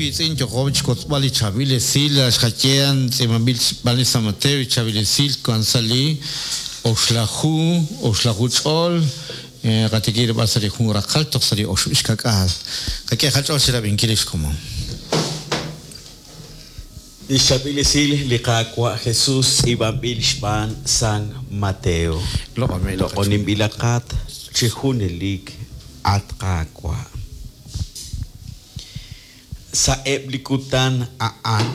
wiitz'in, yo'qo chixwotzb'al li chaab'il esil xqaye tz'iib'anb'il xb'aan li San Mateo, li chaab'il esil wan sa' li oxlaju, oxlaju ch'ol, qatikib' rilb'al sa' li jun raqal toj sa' li oxib' xka'k'aal. Qak'e qach'ool chirab'inkil lix komon. Lix chaab'il esil li Qaawa' Jesus tz'iib'anb'il xb'aan San Mateo. Loq'oninb'ilaqat chi junelik, at Qaawa'. Sa'eb' li kutan a'an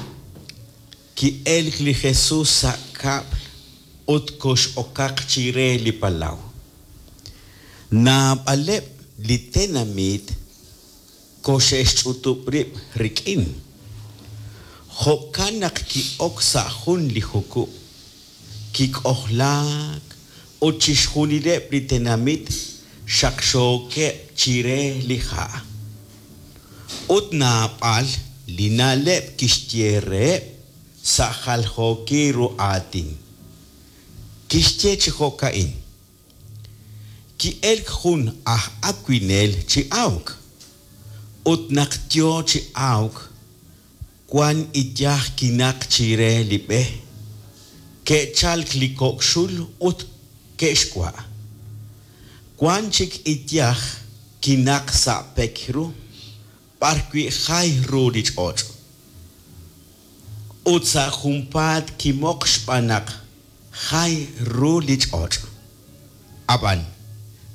ki'elk li Jesus sa' kab'l ut kox'okaq chire li palaw. Naab'aleb' li tenamit koxe'xch'utub' rib' rik'in. Jo'kan naq ki'ok sa' jun li jukub', kik'ojlaak ut chixjunileb' li tenamit xaqxookeb' chire li ha'. Ut naab'al li na'leb' kixye reheb' sa' jaljookil ru aatin. Kixye chi jo'ka'in. Ki'elk jun aj awinel chi awk, ut naq yo chi awk, wank iyaj kinaq chire li b'e, ke'chalk li kok' xul ut ke'xwa'. Wank chik iyaj kinaq sa' pek ru, b'arwi' jay ru li ch'och'. Ut sa' junpaat kimoq xb'aan naq jay ru li ch'och'. Ab'an,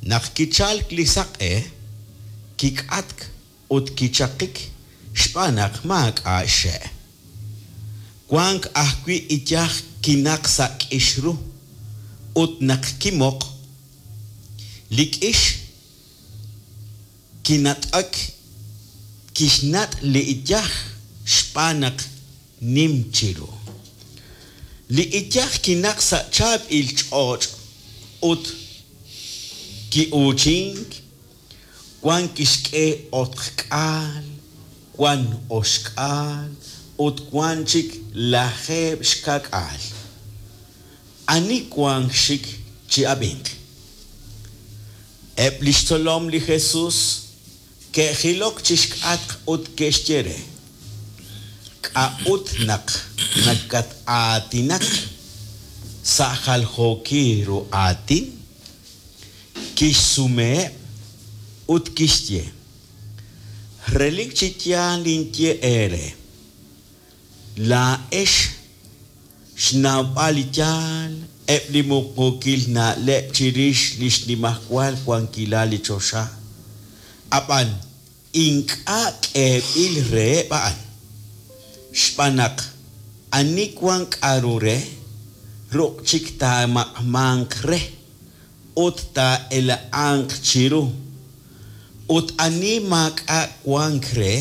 naq kichalk li saq'e, kik'atk ut kichaqik xb'aan naq maak'a' xxe'. Wank ajwi' iyaj kinaq sa' k'ix ru, ut naq kimoq, li k'ix Kinat'ak, kixnat' li iyaj xb'aan naq nim chiru. Li iyaj kinaq sa' chaab'il ch'och' ut ki'uuchink, wan kixk'e otk'aal, wan oxk'aal ut wan chik lajeeb' xka'k'aal. Ani wank xik chi'ab'inq? Eb' li xtzolom li Jesus ke'jilok chi xk'atq ut ke'xye re, K'a'ut naq nakat-aatinak sa' jaljookil ru aatin? Kixsumeheb' ut kixye, Relik chi yaal ninye eere, Laa'ex xnawb'al li yaal, eb' li muqmuukil na'leb' chirix li xnimajwal wankilal li choxa, ab'an ink'a' k'eeb'il reheb' a'an. Xb'aan naq ani wank k'aru re, ruq' chik taamaq'manq re ut taa'ela'anq chiru, ut ani maak'a' wank re,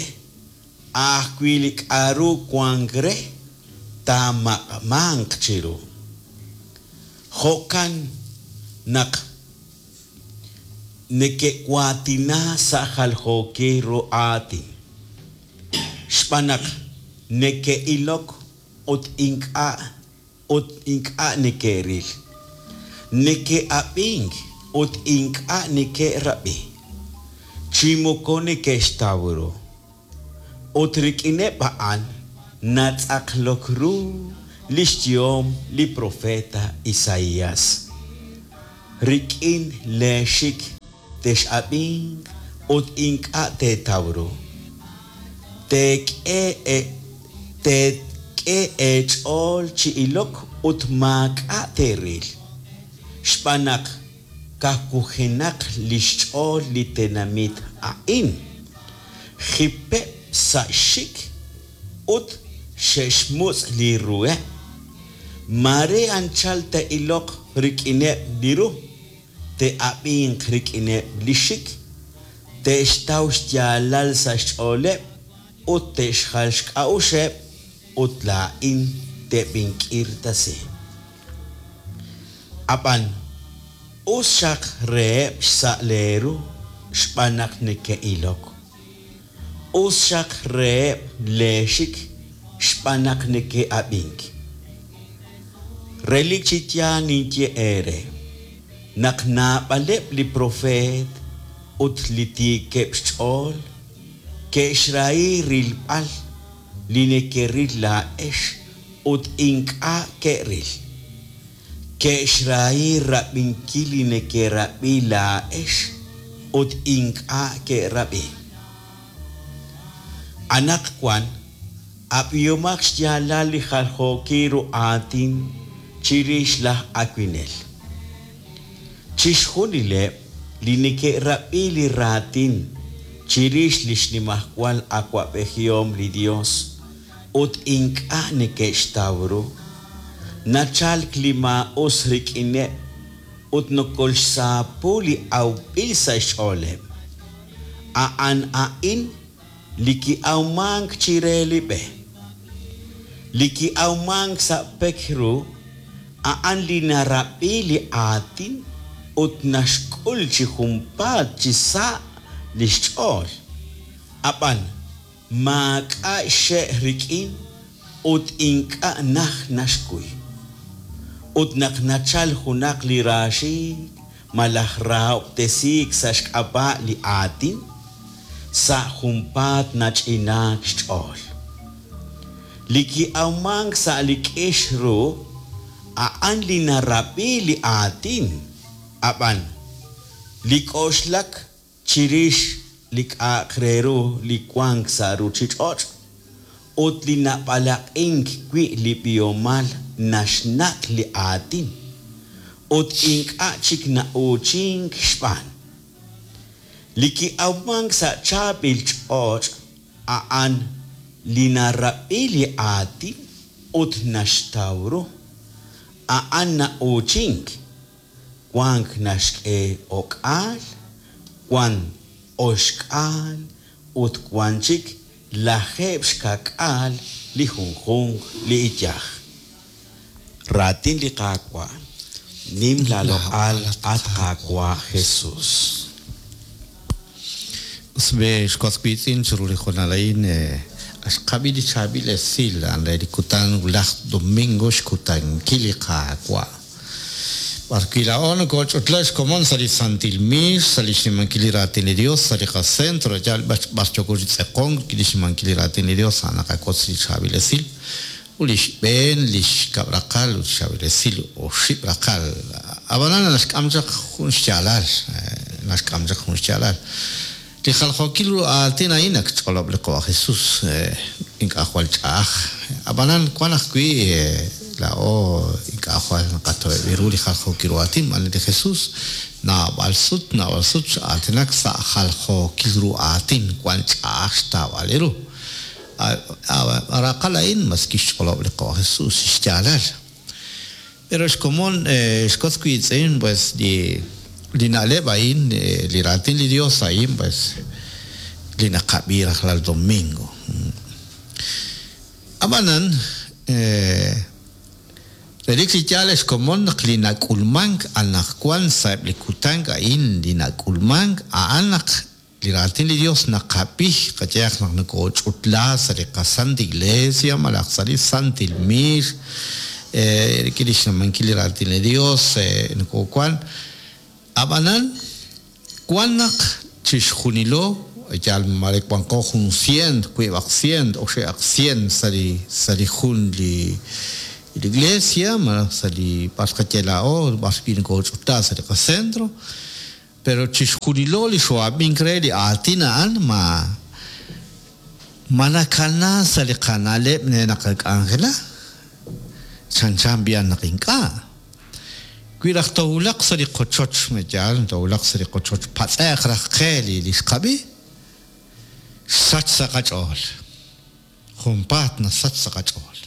A' ajwi' li k'a'ru wank re, taamaq'manq chiru. Jo'kan naq neke'waatina sa' jaljookil ru aatin, xb'aan naq neke'ilok ut ink'a' ut ink'a' neke'ril, neke'ab'ink ut ink'a' neke'rab'i, chi moko neke'xtaw ru. Ut rik'ineb' a'an natz'aqlok ru li xyehom li propeet Isaías, Rik'in leexik tex'ab'inq ut ink'a' teetaw ru. Teek'e teek'e eech'ool chi ilok ut maak'a' teeril, xb'aan naq kawujenaq li xch'ool li tenamit a'in, jipeb' sa' xxik ut xe'xmutz' li ruheb'. Maare anchal te'iloq rik'ineb' li ru, te'ab'inq rik'ineb' li xik, te'xtaw xyaalal sa' xch'ooleb' ut te'xjal xk'a'uxeb' ut laa'in teb'ink'irtasi. Ab'an us xaq reheb' xsa' leeru xb'aan naq neke'ilok. Us xaq reheb' leexik xb'aan naq neke'ab'ink. Relik chi yaal ninye eere, naq naab'aleb' li propeet ut li tiikeb' xch'ool Ke'xrahi rilb'al li nekeril laa'ex ut ink'a' ke'ril. Ke'xrahi rab'inkil li nekerab'i laa'ex ut ink'a' ke'rab'i. Anaqwan ab'ihomaq xyaalal li jaljookil ru aatin chirix laj awinel. Chixjunileb' li neke'rab'i li raatin chirix li xnimajwal awab'ejihom li Yos ut ink'a' neke'xtaw ru, nachalk li maa'us rik'ineb' ut nokolxsaapu li awb'il sa' xch'ooleb'. A'an a'in li ki'awmank chire li b'e. Li ki'awmank sa' pek ru, a'an li narab'i li aatin ut naxk'ul chi junpaat chi sa' li xch'ool, ab'an maak'a' xxe' rik'in ut ink'a' najt naxkuy. Ut naq nachalk junaq li raaxiik' malaj rahob'tesiik sa' xk'ab'a' li aatin, sa' junpaat nach'inaak xch'ool. Li ki'awmank sa' li k'ix ru, a'an li narab'i li aatin, ab'an li k'oxlak chirix li k'a'aq re ru li wank sa' ruuchich'och' ut li nab'alaq'ink wi' li b'ihomal naxnat' li aatin, ut ink'a' chik na'uuchink xb'aan. Li ki'awmank sa' chaab'il ch'och' a'an li narab'i li aatin ut naxtaw ru. A'an na'uuchink, wank naxk'e o'k'aal, wank oxk'aal ut wank chik lajeeb' xka'k'aal li junjunq li iyaj. Raatin li Qaawa', Nim laaloq'al, at Qaawa' Jesus. Us be, xwas wiitz'in, chiru li hoonal a'in xqab'i li chaab'il esil a'an re li kutan wulaj domingo xkutankil li Qaawa'. B'arwi' laa'o nokooch'utla xkomon sa' li santil miix, sa' li xnimankil li raatin li Dios, sa' li qacentro, yal b'ar yooko chi tz'eqonk rik'in li xnimankil li raatin li Dios, a'an naqawotz li chaab'il esil. Ut li xb'een, li xkab' raqal ut xchaab'il esil oxib' raqal. Ab'anan naxk'am chaq jun xyaalal, naxk'am chaq jun xyaalal. Li jaljookil ru aatin a'in ak ch'olob' li Qawa' Jesus, ink'a' jwal ch'a'aj. Ab'anan wan ajwi' laa'o ink'a' jwal naqato'eb' ru li jaljookil ru aatin xb'aan li Jesus naab'al sut, naab'al sut x'aatinak sa' jaljookil ru aatin wan ch'a'aj xtawb'al ru. A raqal a'in mas kixch'olob' li Qawa' Jesús xyaalal. Pero xkomon xkotz wiitz'in pues li li na'leb' a'in, li raatin li Dios a'in pues li naqab'i rajlal domingo. Ab'anan relik chi yaal xkomon naq li nak'ulmank anaqwan sa'eb' li kutan a'in li nak'ulmank a'an naq Li raatin li Dios naqab'i, qayehaq naq nokoch'utla sa' li qaSanta Iglesia malaj sa' li santil miix, rik'in lix nimankil li raatin li Dios nokowan. A'b'anan, wan naq chixjunilo, yal mare wanqo jun sient, wiib'aq sient, oxib'aq sient sa' li sa' li jun li iglesia malaj sa' li b'ar xqaye laa'o, b'ar wi' nokoch'utla sa' li qacentro. Pero chixjunilo li xoo'ab'ink re li aatin a'an ma ma nakana sa' li qana'leb' re naqak'anjela? Chanchan b'i'an naq ink'a'. Wi raj toowulaq sa' li qochoch, ma yaal, toowulaq sa' li qochoch, patz'e'q raj qe li li xqab'i, xsach sa' qach'ool. Junpaat nasach sa' qach'ool.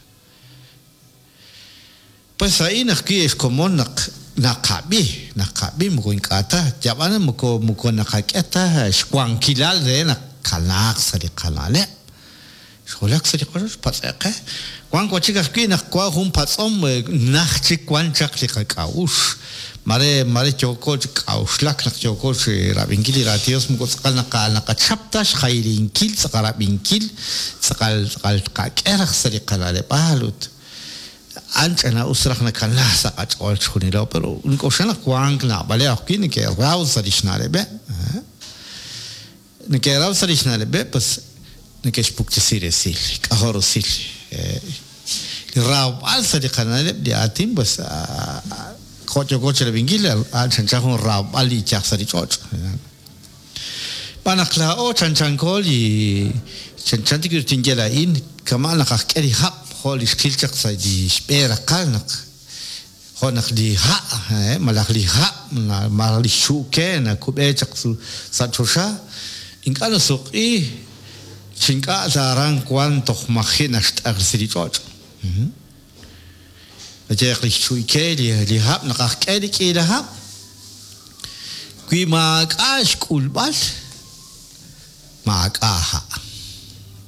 Pues a'in ajwi' xkomon naq naqab'i, naqab'i moko ink'a' ta, yab'an moko moko naqak'e ta xwankilal re naq kanaaq sa' li qana'leb'. Xwulak sa' li qochoch, patz'e'q qe. Wank wa chik ajwi' naq wank jun patz'om najt chik wank chaq li qak'a'uxl. Mare mare yooko chi k'a'uxlak naq yooko chi rab'inkil li raatin Dios moko tz'aqal naqa naqachap ta xjaylinkil tz'aqal rab'inkil, tz'aqal tz'aqal tqak'e raj sa' li qana'leb'aal ut A'an ch'ina'us raj nakana sa' qach'ool chixjunilo, pero nink'oxla naq wank naab'aleb' ajwi' neke'raw sa' li xna'leb'eb'. Neke'raw sa' li xna'leb'eb', pues. Neke'xpuktesi resil, k'ajo' rusil. Li rawb'al sa' li qana'leb' li aatin, pues, jo' yooko chirab'inkil, a'an chanchan jun rawb'al li iyaj sa' li ch'och'. Xb'aan naq laa'o chanchanko li chanchan tik tinye laa'in, kama' naq aj k'e li hab' jo' li xqil chaq sa' li xb'e raqal naq jo' naq li ha' malaj li hab' malaj li xu'ke nakub'e chaq sa' choxa, ink'a' nasuq'i chi ink'a' ta aran wank toj maji' naxt'aqresi li ch'och'. Qayehaq li xchu'ike li hab' naq aj k'e li k'iila hab', wi maak'a' xk'ulb'al, maak'a' ha'.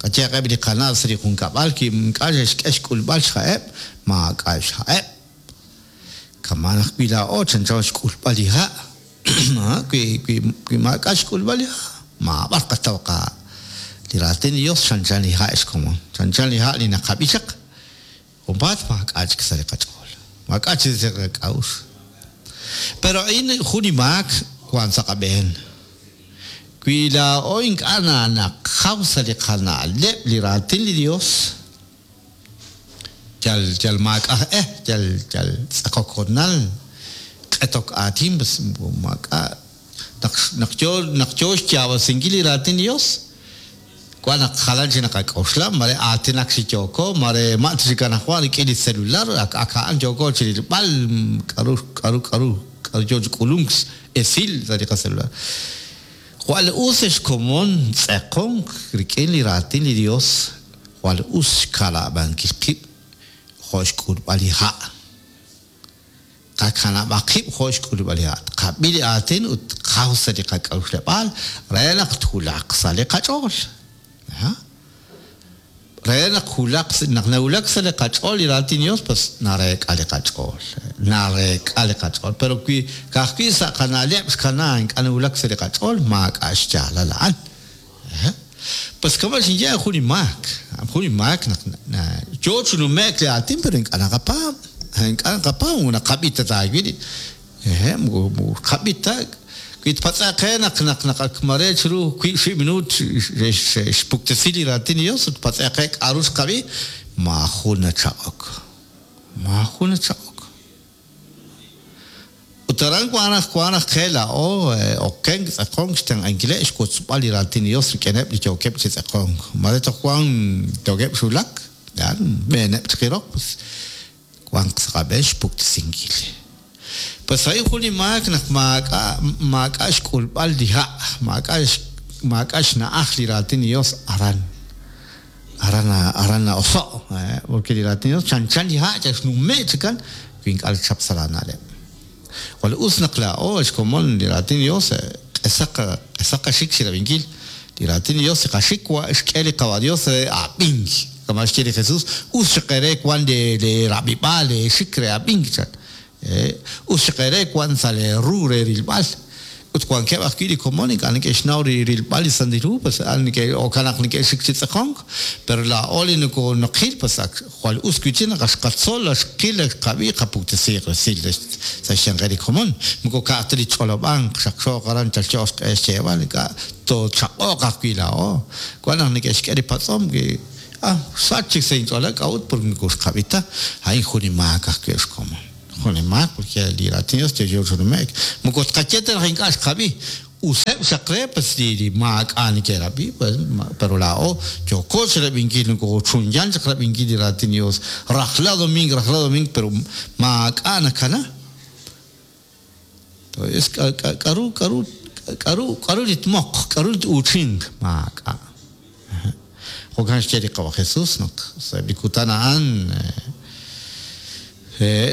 Qayehaq eb' li qana' sa' li junkab'al wi ink'a' xe'xk'e xk'ulb'al xha'eb', maak'a' xha'eb'. Kama'an ajwi' laa'o chanchan xk'ulb'al li ha', wi maak'a' xk'ulb'al li ha', maab'ar qataw qaha'. Li Raatin li Yos chanchan li ha' ex komon, chanchan li ha' li naqab'i chaq. Junpaat maak'a' chik sa' li qach'ool, maak'a' chik sa' li qak'a'uxl. Pero a'in jun li maak wank sa' qab'een. Wi laa'o ink'a' naqaw sa' li qana'leb' li Raatin li Yos, yal yal maak'a' aj e, yal yal tz'aqok hoonal, q'etok aatin, pues maak'a' naq naq yo naq yo xyaab'asinkil li Raatin li Yos, Wan naq jalan chik naqak'oxla, mare aatinak chi yooko, mare ma' ta chik anajwan rik'in li celular, ak ak a'an yooko chirilb'al k'a'ru k'a'ru k'a'ru k'a'ru yoo chi k'ulunk esil sa' li qacelular. Jwal us ex komon tz'eqonk rik'in li raatin li Dios, jwal us xkanab'ankil qib' jo' xk'ulb'al li ha'. Qakanab'aq qib' jo' xk'ulub'al li ha'. Tqab'i li aatin ut tqaw sa' li qak'a'uxleb'aal re naq twulaq sa' li qach'ool. Re naq wulaq naq nawulak sa' li qach'ool li raatin Yos, pues nareek'a li qach'ool. Nareek'a li qach'ool. Pero wi ka'ajwi' sa' qana'leb' xkana ink'a' nawulak sa' li qach'ool, maak'a' xyaalal a'an. Pues kama' xinye jun li maak, jun li maak naq yoo chi nume'k li aatin pero ink'a' naqapaab', ink'a' naqapaab' moko naqab'i ta taawil li moko moko xqab'i ta. Wi tpatz'e'q qe naq naq naq ak mare chiru wiib' oxib' minuut xe'xpuktesi li raatin li Dios ut tpatz'e'q qe k'a'ru xqab'i, maajun nachaq'ok, maajun nachaq'ok. Ut aran wank naq wank naq qe laa'o okenk, tz'aqonk, xtenq'ankileb' xwotzb'al li Raatin li Yos rik'ineb' li yookeb' chi tz'aqonk. Mare toj wank yookeb' xwulak, yaal, b'eeneb' chaq li roq, pues wanq sa' qab'een xpuktesinkil. Pues a'in jun li maak naq maak'a' maak'a' xk'ulb'al li ha', maak'a' maak'a' xna'aj li Raatin li Yos aran. Aran aran na'oso', porque li Raatin li Yos chanchan li ha' yal xnume' chikan wi ink'a' nachap sa' laana'leb'. Jwal us naq laa'o ex komon li Raatin li Yos q'esaq q'esaq qaxik chirab'inkil li Raatin li Yos li qaxik wa xk'e li Qawa' Dios re ab'ink. Kama' xye li Jesus, us chaq eere wank lee lee rab'ib'aal lee xik re ab'ink chan. Us chaq eere wank sa' lee ru re rilb'al. Ut wankeb' ajwi' li komon ink'a' neke'xnaw rilb'al li Santil Hu, pues a'an neke'okan naq neke'xik chi tz'aqonk, pero laa'o li nokonoqil, pues ak jwal us wi'chik naq ak xqatzol, ak xqil, ak xqab'i, qapuktesiiq resil sa' xyanqeb' li komon. Moko ka'aj ta li ch'olob'ank xaqxooq aran chalcho'q xq'e xyeeb'al, ink'a' toochaq'oq ajwi' laa'o. Wan naq neke'xk'e li patz'om, ah, xsach chik sa' inch'ool, k'a'ut? Porque moko xqab'i ta. A'in jun li maak ajwi' ex komon. Jun li maak, porque li Raatin Dios yo'yo chi nume'k. Moko tqaye ta naq ink'a' xqab'i. Useb' xaq re, pues li li maak'a' neke'rab'i, pues pero laa'o yooko chirab'inkil, nokochunyan chaq rab'inkil li Raatin Dios rajlal domingo, rajlal domingo, pero maak'a' nakana. Entonces, k'a'ru, k'a'ru, k'a'ru, k'a'ru li tmoq, k'a'ru li t-uuchinq, maak'a'. Jo'kan xye li Qawa' Jesús naq sa'eb' li kutan a'an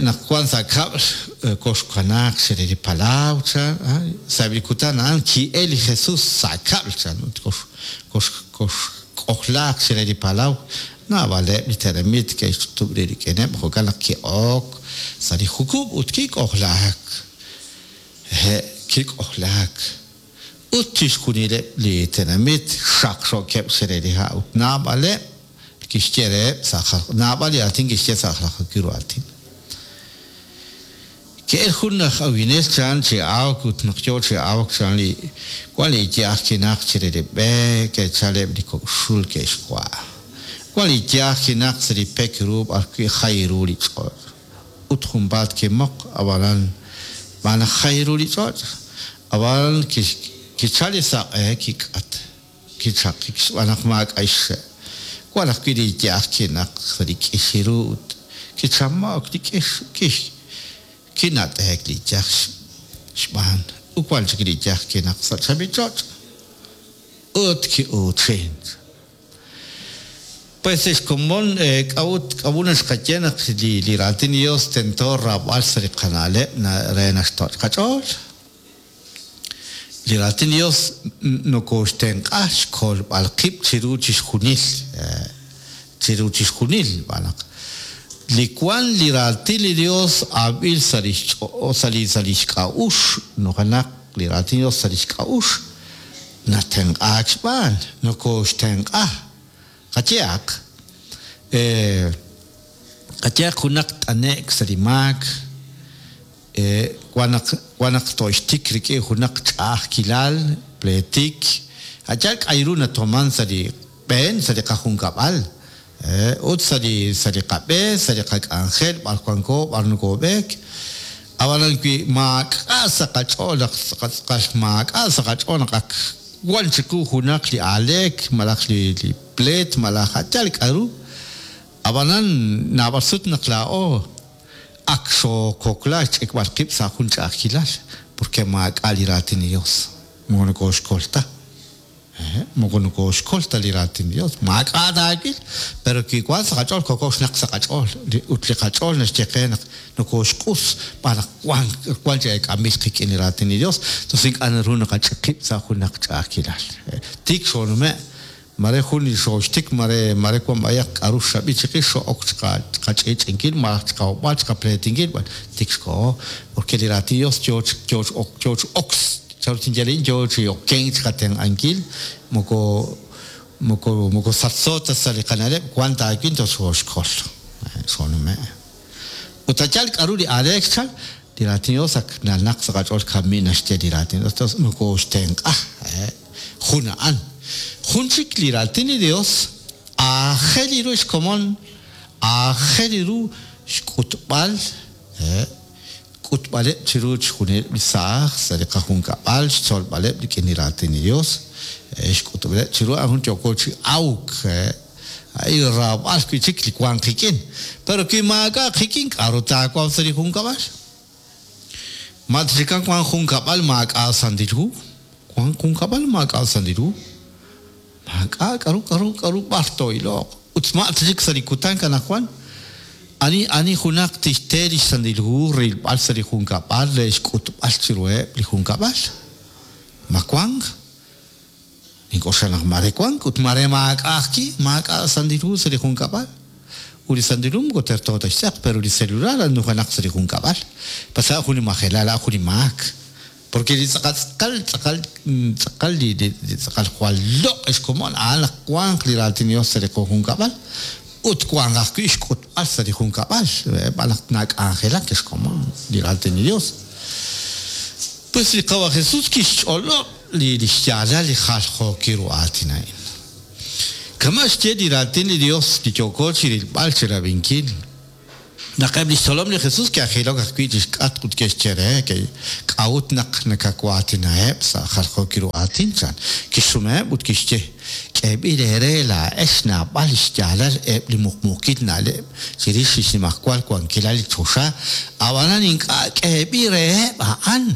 naq wank sa' kab'l koxkanaaq chire li palaw chan, sa'eb' li kutan a'an ki'el li Jesús sa' kab'l chan ut koxk'ojlaaq chire li palaw. Naab'aleb' li tenamit ke'xch'utub' rib' rik'ineb', jo'kan naq ki'ok sa' li jukub' ut kik'ojlaak. Hehe', kik'ojlaak. Ut chixjunileb' li tenamit xaqxookeb' chire li ha' ut naab'aleb' kixye reheb' sa' naab'al li aatin kixye sa' jaljookil ru aatin. Ke'el jun laj awinel chan chi awk ut naq yoo chi awk chan li wan li iyaj kinaq chire li b'e, ke'chal eb' li kok' xul ke'xwa'. Wan li iyaj kinaq sa' li pek ru b'arwi' jay ru li ch'och'. Ut junpaat kimoq, ab'anan xb'aan naq jay ru li ch'och'. Ab'anan kichal li saq'e kik'at, kichaqik xb'aan naq maak'a' xxe'. Wan ajwi' li iyaj kinaq sa' li k'ix ru ut kichamo'k li k'ix, kix kinat'eek li iyaj xb'aan. Ut wan chik li iyaj kinaq sa' chaab'il ch'och' ut ki'uuchink. Pues ex komon, k'a'ut k'a'ut naxqaye naq li li raatin li Dios tento raab'al sa' li qana'leb' re naxtoch' qach'ool? Li raatin li Dios nokooxtenq'a xkolb'al qib' chiru chixjunil, chiru chixjunil, xb'aan naq li wank li raatin li Dios ab'il sa' li sa' li sa' lix k'a'uxl, nujenaq li raatin li Dios sa' lix k'a'uxl, Natenq'aak xb'aan, nokooxtenq'a. Qayehaq, qayehaq junaq t'ane'k sa' li maak, wan naq wan naq tooxtik rik'in junaq ch'a'ajkilal, pleetik, a' yaal k'a' ru natoman sa' li b'een, sa' li qajunkab'al, ut sa' li sa' li qab'e, sa' li qak'anjel, b'ar wanko, b'ar nokoob'eek. Ab'anan wi maak'a' sa' qach'ool naq tz'aqal tz'aqal maak'a' sa' qach'ool naq ak wan chiqu junaq li aaleek malaj li li pleet malaj a' yaal k'a'ru, ab'anan naab'al sut naq laa'o ak xookokla xch'ikb'al qib' sa' jun ch'a'ajkilal porque maak'a' li raatin li Dios, moko nokooxkol ta. Moko nokooxkol ta li Raatin li Yos. Maak'a' taawil, pero wi wank sa' qach'ool, kokok xnaq sa' qach'ool. Ut li qach'ool naxye qe naq nokooxq'us xb'aan naq wank wank chi eek'anb'il qik'in li Raatin li Yos, tos ink'a' naru naqach'ik qib' sa' junaq ch'a'ajkilal. Tik xoonume', mare jun li xooxtik, mare mare wank b'ayaq k'aru xrab'i chiqix, xoo'ok chi qach'i'ch'inkil malaj chi qahob'al, chi qapleetinkil, tik xkoho. Porque li Raatin li Yos yo yo yo chi ok Chanru tinye a'in yoo chi okenk chiqatenq'ankil, moko moko moko sachso ta sa' li qana'leb', wan taawil toj xooxkol. Xoonume'. Ut a' yaal k'a'ru li aaleek xchal, li raatin Dios ak nanaq sa' qach'ool kami' naxye li raatin Dios, tos nokooxtenq'a. Jun a'an. Jun chik li raatin li Dios aajel ru xkomon, aajel ru xk'utb'al Xk'utb'aleb' chiru chixjunileb' li saaj sa' li qajunkab'al, xtzolb'aleb' rik'in li raatin li Dios, xk'utb'aleb' chiru a'an jun yooko chi awk, a'in raab'al wi'chik li wank qik'in. Pero wi maak'a' qik'in, k'a'ru taawaw sa' li junkab'al? Ma tchikan wank junkab'al maak'a' Santil Hu? Wank junkab'al maak'a' Santil Hu? Maak'a' k'aru k'aru k'aru b'ar too'iloq. Ut ma' ta chik sa' li kutan anaqwan, ani ani junaq tixte li xSantil Hu rilb'al sa' li junkab'al re xk'utb'al chiruheb' li junkab'al? Ma wank? Nink'oxla naq maare wank ut maare maak'a' ajwi', maak'a' Santil Hu sa' li junkab'al. Ut li Santil Hu moko terto ta xtz'aq, pero li celular nujenaq sa' li junkab'al. Pasa jun li majelal, a'an jun li maak. Porque li tz'aqal tz'aqal tz'aqal tz'aqal li li tz'aqal jwal loq' xkomon a'an naq wanq li raatin Dios sa' li qajunkab'al ut wanq ajwi' xk'utb'al sa' li junkab'al xb'aan naq nak'anjelak xkomon li raatin li Dios. Pues li Qawa' Jesús kixch'olob' li li xyaalal li jaljookil ru aatin a'in. Kama' xye li raatin li Dios li yooko chirilb'al chirab'inkil. Naq eb' li xtzolom li Jesús ke'jilok ajwi' chi xk'atq ut ke'xye re, K'a'ut naq nakawaatinaheb' sa' jaljookil ru aatin? chan. Kixsumeheb' ut kixye, K'eeb'il eere laa'ex naab'al li xyaalal eb' li muqmuukil na'leb' chirix li xnimajwal wankilal li choxa, ab'anan ink'a' k'eeb'il reheb' a'an.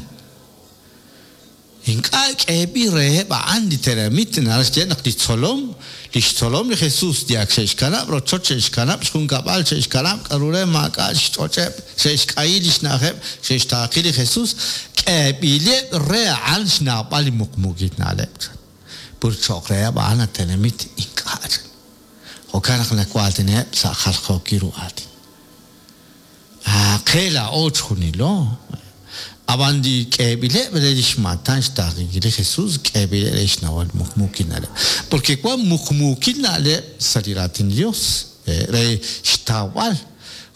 Ink'a' k'eeb'il reheb' a'an li tenamit, naraj xye naq li tzolom, lix tzolom li Jesus, li ak xe'xkanab' rochoch, xe'xkanab' xjunkab'al, xe'xkanab' k'a'ru re maak'a' xch'och'eb', xe'xk'ayi lix na'ajeb', xe'xtaaqi li Jesus, k'eeb'ileb' re a'an xnawb'al li muqmuukil na'leb', chan. Pur cho'q reheb' a'an a tenamit ink'a', chan. Jo'kan naq nawaatinaheb' sa' jaljookil ru aatin. Qe laa'o chjunilo. Ab'an li k'eeb'ileb' re li xmaatan xtaaqenkil li Jesús, k'eeb'ileb' re xnawal muqmuukil na'leb'. Porque wank muqmuukil na'leb' sa' li Raatin li Yos re xtawb'al.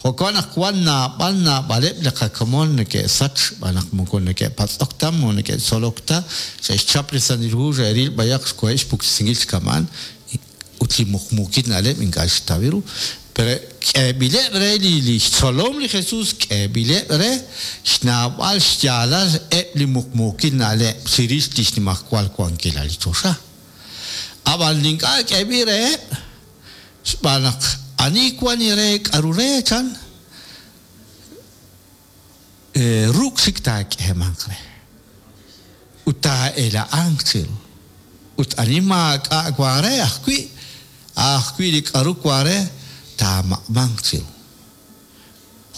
Jo'kan naq wan naab'al naab'aleb' li qakomon neke'sach xb'aan naq moko neke'patz'ok ta, moko neke'tzolok ta, xe'xchap li Santil Hu, xe'ril b'ayaq xkoheb' xpuktesinkil chi kama'an ut li muqmuukil na'leb' ink'a' xtaw ru. Pero k'eeb'ileb' re li li xtzolom li Jesus k'eeb'ileb' re xnawb'al xyaalal eb' li muqmuukil na'leb' chirix li xnimajwal wankilal li choxa. Ab'an li ink'a' k'eeb'il reheb' xb'aan naq ani wan re k'aru re chan ruk' chik taak'eemanq re ut taa'ela'anq chiru. Ut ani maak'a' wan re ajwi', ajwi' li k'aru wan re taamaq'manq chiru.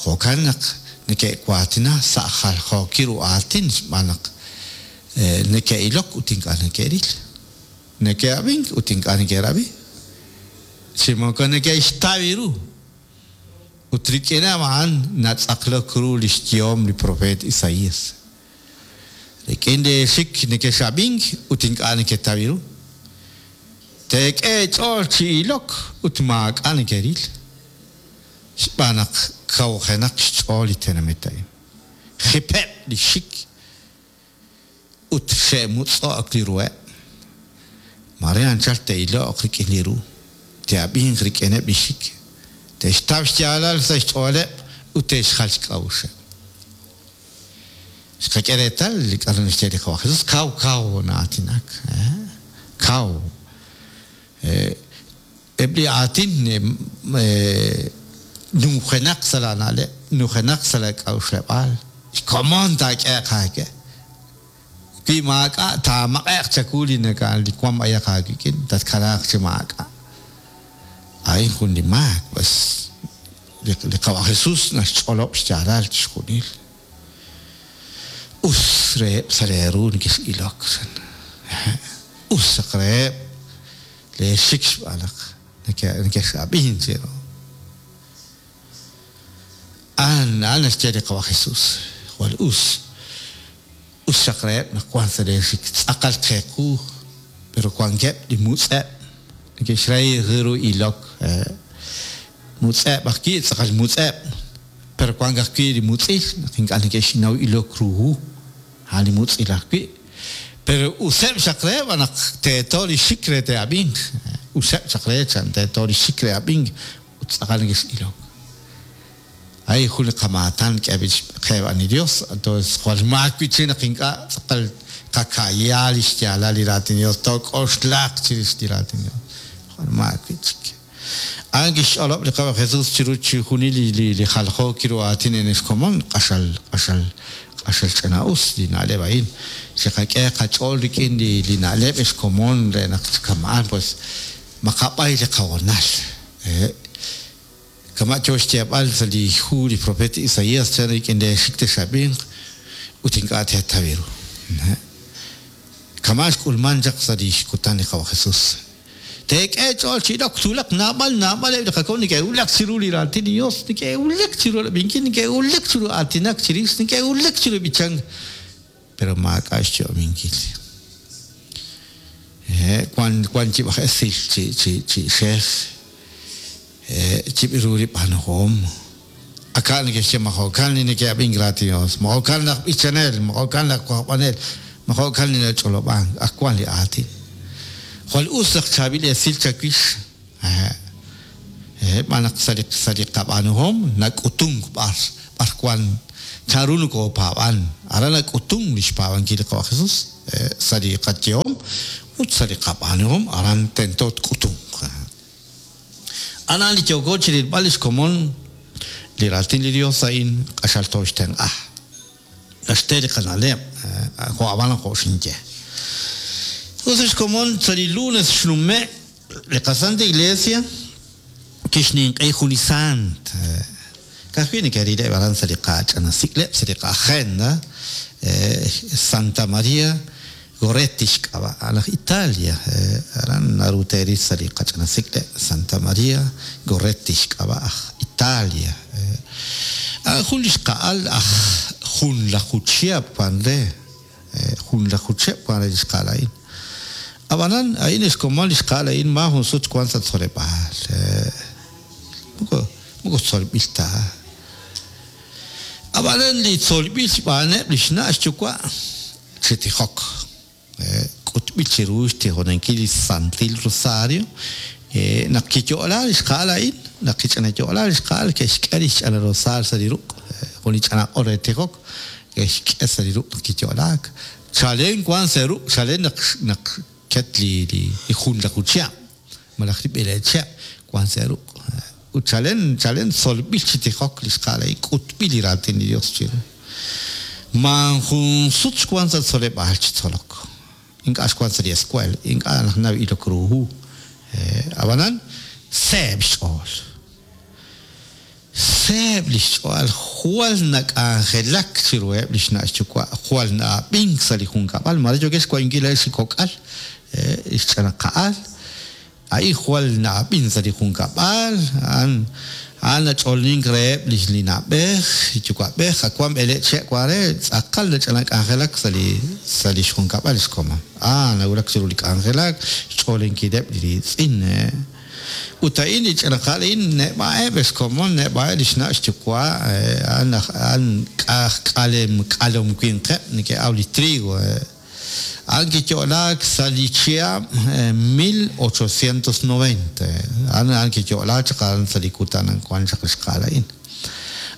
Jo'kan naq neke'waatina sa' jaljookil ru aatin xb'aan naq neke'ilok ut ink'a' neke'ril, neke'ab'ink ut ink'a' neke'rab'i, chi moko neke'xtaw ru. Ut rik'ineb' a'an natz'aqlok ru li xyehom li propeet Isaías. Rik'in leexik nekex'ab'ink ut ink'a' neketaw ru. Teek'e eech'ool chi ilok ut maak'a' nekeril, xb'aan naq kawjenaq xch'ool li tenamit a'in. Jipeb' li xik ut xe'mutz'o'k li ruheb'. Mare anchal te'iloq rik'in li ru, te'ab'inq rik'ineb' li xik, te'xtaw xyaalal sa' xch'ooleb' ut te'xjal xk'a'uxeb'. Xqak'e reetal li k'aru naxye li Qawa' Jesus, kaw kaw na'aatinak, kaw. Eb' li aatin nujenaq sa' laana'leb', nujenaq sa' laak'a'uxleb'aal, xkomon taak'ehe'q aawe. Wi maak'a' taamaq'e'q chawu li naka li wank b'ayaq aawik'in, tatkanaaq chi maak'a'. A'in jun li maak, pues li Qawa' Jesus naxch'olob' xyaalal chixjunil. Us reheb' sa' leeru nekex'ilok, chan. Us chaq reheb' leexik xb'aan naq nekex'ab'ink cheru. A'an a'an naxye li Qawa' Jesus, jwal us. Us xaq reheb' naq wank sa' leexik tz'aqal qe qu, pero wankeb' li mutz'eb' neke'xrahi ru ilok. Mutz'eb' ajwi', tz'aqal mutz'eb', pero wank ajwi' li mutz'il naq ink'a' neke'xnaw ilok ru hu, a'an li mutz'il ajwi'. Pero useb' xaq reheb' naq teeto li xik re te'ab'inq. Useb' xaq re chan teeto li xik re ab'ink ut tz'aqal nekex'ilok. A'in jun li qamaatan k'eeb'il qe xb'aan li Dios. Entonces, jwal maak wi'chik naq ink'a' tz'aqal qaka'ya li xyaalal li raatin Dios, took'oxlaq chirix li raatin Dios. Jwal maak wi'chik. A'an kixch'olob' li Qaawa' Jesus chiru chixjunil li jaljookil ru aatin ex komon, q'axal, q'axal, q'axal ch'ina-us li na'leb' a'in. Chiqak'e qach'ool rik'in li na'leb' ex komon re naq chi kama'an pues maqab'ay li qahoonal. Kama' yo xyeeb'al sa' li hu li propeet Isaías, chan rik'in leexik tex'ab'inq ut ink'a' teetaw ru. Kama' xk'ulmank chaq sa' li xkutan li Qawa' Jesus. Teek'e eech'ool chi ilok, twulaq naab'al naab'al eb' li qakomon neke'wulak chiru li Raatin li Yos, neke'wulak chiru rab'inkil, neke'wulak chiru aatinak chirix, neke'wulak chiru b'ichank, pero maak'a' xyu'aminkil. Wan wan yib' aj esil chi chi chi xej, yib' ru li b'aanuhom. Aka' neke'xye ma jo'kan li neke'ab'ink raatin Dios, ma jo'kan laj b'ichanel, ma jo'kan laj wajb'anel, ma jo'kan li nach'olob'ank, ak wan li aatin. Jwal us naq chaab'il esil chawix, xb'aan naq sa' li sa' li qab'aanuhom nak'utunk b'ar b'ar wan chanru nokopaab'an. Aran nak'utunk li xpaab'ankil li Qawa' Jesus sa' li qayehom ut sa' li qab'aanuhom aran tento tk'utunq. A'an li yooko chi rilb'al li xkomon li Raatin li Yos a'in q'axal tooxtenq'a. Naxte li qana'leb', jo' ab'an jo' xinye. Us xkomon sa' li lunes xnume' li qaSanta Iglesia kixninq'ehi jun li saant. Ka'ajwi' neke'rileb' aran sa' li qach'ina sik'leb', sa' li qa'agenda, Santa Maria Goretti xk'ab'a', a'an aj Italia, aran naru teeril sa' li qach'ina sik'leb', Santa Maria Goretti xk'ab'a' aj Italia. A'an jun li xqa'al aj junlaju chihab' wan re, junlaju chihab' wan re li xqa'al a'in. Ab'anan, a'in xkomon li xqa'al a'in maajun sut wank sa' tzoleb'aal. Moko. Moko tzolb'il ta. Ab'anan li tzolb'il xb'aaneb' li xna' xyuwa' chi tijok, k'utb'il chiru xtijonankil li Santil Rosario, naq kiyo'la li xqa'al a'in, naq kich'ina yo'la li xqa'al, ke'xk'e li xch'ina rosario sa' li ruq', jun li ch'ina q'ol re tijok, ke'xk'e sa' li ruq' naq kiyo'laak. Chalen wank sa' ruq' chalen naq naq ket li li junlaju chihab' malaj li b'eleeb' chihab' wank sa' ruq'. Ut chalen chalen tzolb'il chi tijok li xqa'al a'in, k'utb'il li raatin li Dios chiru. Maajun sut xwank sa' tzoleb'aal chi tzolok. Ink'a' xwank sa' li escuela, ink'a' naxnaw ilok ru hu. Ab'anan, seeb' xch'ool. Seeb' li xch'ool, jwal nak'anjelak chiruheb' li xna' xyuwa', jwal na'ab'ink sa' li junkab'al, maare yookex xwayinkil laa'ex li kok'al, li xch'anaqa'al, a'in jwal na'ab'in sa' li junkab'al, a'an a'an nach'oolink reheb' li li na'b'ej, li yuwa'b'ej, ak wan b'eleeb' chihab' wan re, tz'aqal nach'anak'anjelak sa' li sa' li xjunkab'al li xkomon. A'an nawulak chiru li k'anjelak, xch'oolinkileb' li riitz'in. Ut a'in li ch'ina qa'al a'in neb'a'eb' ex komon, neb'a'eb' lix na' xyuwa', a'an aj a'an k'aj k'alem k'alom winqeb' neke'aw li trigo. A'an kiyo'laak sa' li chihab' 1890, a'an a'an kiyo'laak chaq a'an sa' li kutan wan chaq li xqa'al a'in.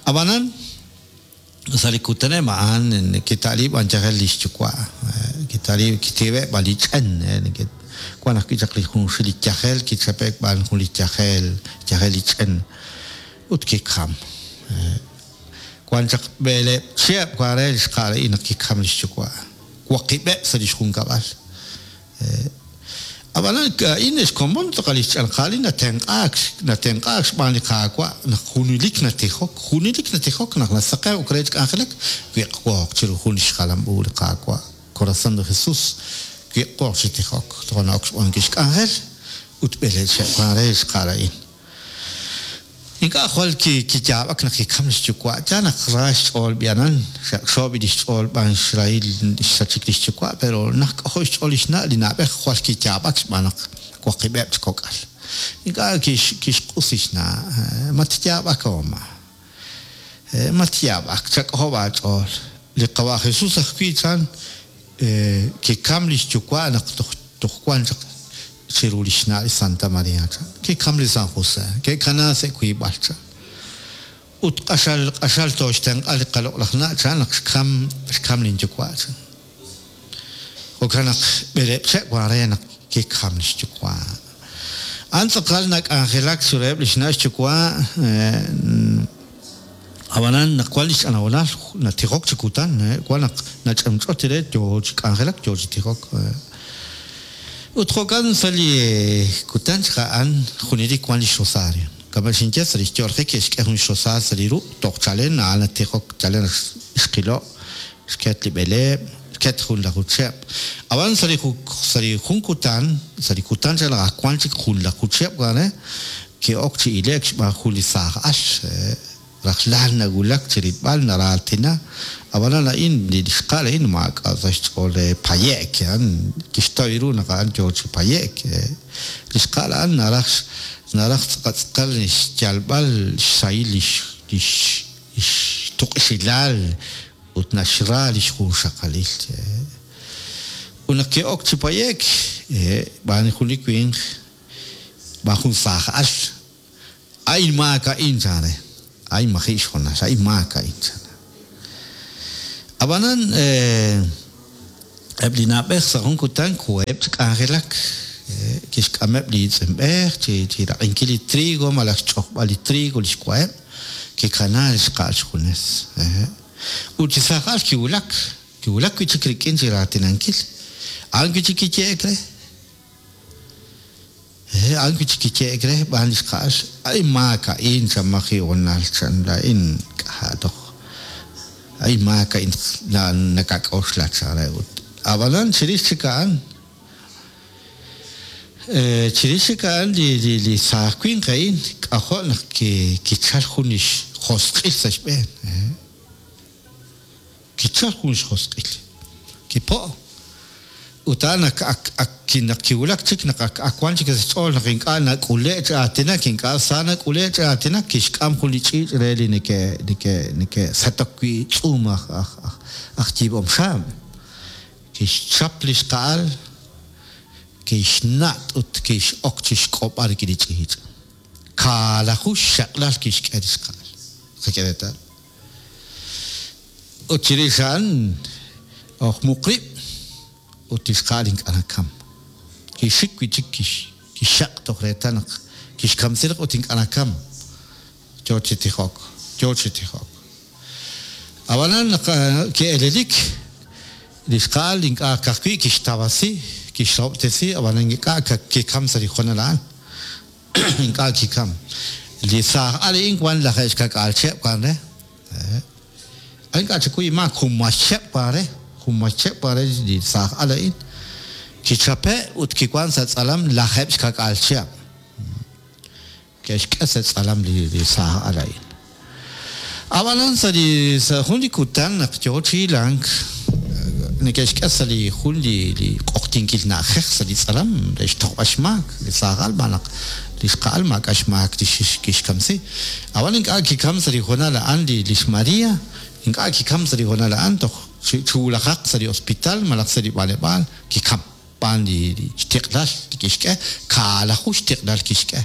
Ab'anan, Sa' li kutanem a'an kita'liib' b'an yajel li xyuwa', kita'liib' kitiwe' b'an li ch'en, wan ajwi' chaq li junxil li yajel, kichape'k b'an jun li yajel, yajel li ch'en, ut kikam. Wan chaq b'eleeb' chihab' wan re li xqa'al a'in naq kikam li xyuwa', waqib'eb' sa' li xjunkab'al. Ab'anan a'in xkomon tz'aqal li xch'anqal li natenq'aak, natenq'aak xb'aan li Qaawa' naq junelik natijok, junelik natijok naq nasaqewk re chi k'anjelak, wiq'wooq chiru jun li xjalam u li Qaawa', Corazón de Jesús, wiq'wooq chi tijok, toja' na'ok xb'aanunkil xk'anjel ut b'eleeb' chihab' wank re li xqa'al a'in. Ink'a' jwal kiyaab'ak naq kikam li xyuwa', yaal naq ra xch'ool b'i'anan, xaqxo b'i' li xch'ool b'an xrahil xsachik li xyuwa', pero naq k'ajo' xch'ool li xna' li na'b'ej jwal kiyaab'ak xb'aan naq waqib'eb' chi kok'al. Ink'a' kixq'us li xna', Matyaab'ak oma. Matyaab'ak, chak'ojob' aach'ool. Li Qawa' Jesús ajwi' chan kikam li xyuwa' naq toj wan chaq chiru li xna' li Santa Maria, chan. Kikam li San Jose, ke'kana sa' wiib'al, chan. Ut q'axal q'axal tooxtenq'a li qaloq'laj na', chan, naq xkam xkam lin yuwa', chan. Jo'kan naq b'eleeb' che' wan re naq kikam li xyuwa'. A'an tz'aqal nak'anjelak chiruheb' li xna' xyuwa', Ab'anan naq wan li xch'anawonal natijok chi kutan, wan naq nach'amch'ot re yo chi k'anjelak, yo chi tijok. Ut jo'kan sa' li kutan chaq a'an junelik wan li xrosario. Kama' xinye sa' li xyo'lajik ke'xk'e jun xrosario sa' li ruq' toj chalen a'an natijok chalen naq xqilo' xket li b'eleeb', xket junlaju chihab'. Ab'an sa' li sa' li jun kutan, sa' li kutan chaq naq ak wan chik junlaju chihab' wan re, Ke'ok chi ile'k xb'aan jun li saaj al, rajlal nawulak chi rilb'al, naraatina. Ab'anan a'in, li xqa'al a'in maak'a' sa' xch'ool re paye'k, a'an kixtaw ru naq a'an yoo chi paye'k. Li xqa'al a'an naraj naraj tz'aqal tz'aqal xyalb'al xsahil lix lix xtuq'ixilal ut naxra lix junxaqalil. Ut naq ke'ok chi paye'k, xb'aan jun li winq, B'an jun saaj al, A'in maak a'in, chan re. A'in maji' xhoonal, a'in maak a'in, chan re. Ab'anan, eb' li na'b'ej sa' jun kutan koheb' chi k'anjelak, kixk'ameb' li iitz'inb'ej chi raq'inkil li trigo malaj xch'ojb'al li trigo li xwa'eb', kikana li xqa'al xjunes. Ut li saaj al kiwulak, kiwulak wi' chik rik'in chi raatinankil. A'an wi' chik kiyehe'k re. He, a'an wi' chik kiyehe'k re xb'aan li xqa'al, A'in maak a'in, chan maji' honal, chan, laa'in k'a' toj, a'in maak a'in nakak'oxla, chan re ut. Ab'anan chirix chik a'an, chirix chik a'an li li li saaj winq a'in k'ajo' naq kichal jun li xjosq'il sa' xb'een. Kichal jun xjosq'il. Kipo'. Ut a'an ak ak ak naq kiwulak chik naq ak ak wan chik sa' xch'ool naq ink'a' nak'ule' chi aatinak, ink'a' sa nak'ule' chi aatinak, kixk'am jun li ch'iich' re li neke' neke' neke'setok wi' tz'uum aj aj aj aj yiib'om xaab'. Kixchap li xqa'al, kixnat' ut kix'ok chi xk'ob'al rik'in li ch'iich'. Kaalaju xxaq'lal kixk'e li xqa'al. Qak'e reetal. Ut chirix a'an ojmuq rib' ut li xqa'al ink'a' nakam. Kixik wi' chik kixxaq' toj reetal naq kixkamsi rib' ut ink'a' nakam. Yo chi tijok, yo chi tijok. Ab'anan naq ki'elelik, li xqa'al ink'a' ka'ajwi' kixtawasi, kixrahob'tesi, ab'anan ink'a' kikam sa' li hoonal a'an. Ink'a' kikam. Li saaj al a'in wan laje'xkak'aal chihab' wan re. Ink'a' chikuy inmaak, junmay chihab' wan re, junmay chihab' wan re li saaj al a'in. Kichape' ut kiwan sa' tz'alam lajeeb' xkak'aal chihab'. Ke'xk'e sa' tz'alam li saaj al a'in. Ab'anan sa' li sa' jun li kutan naq yoo chi hilank, neke'xk'e sa' li jun li li q'oqyinkil na'ajej sa' li tz'alam re xtojb'al xmaak li saaj al xb'aan naq li xqa'al maak'a' xmaak li kixkamsi. Ab'an ink'a' kikam sa' li hoonal a'an li li xMaria, ink'a' kikam sa' li hoonal a'an toj chi wulajaq sa' li hospital malaj sa' li b'anleb'aal kikam xb'aan li xtiq'lal li kixk'e, kaalaju xtiq'lal kixk'e.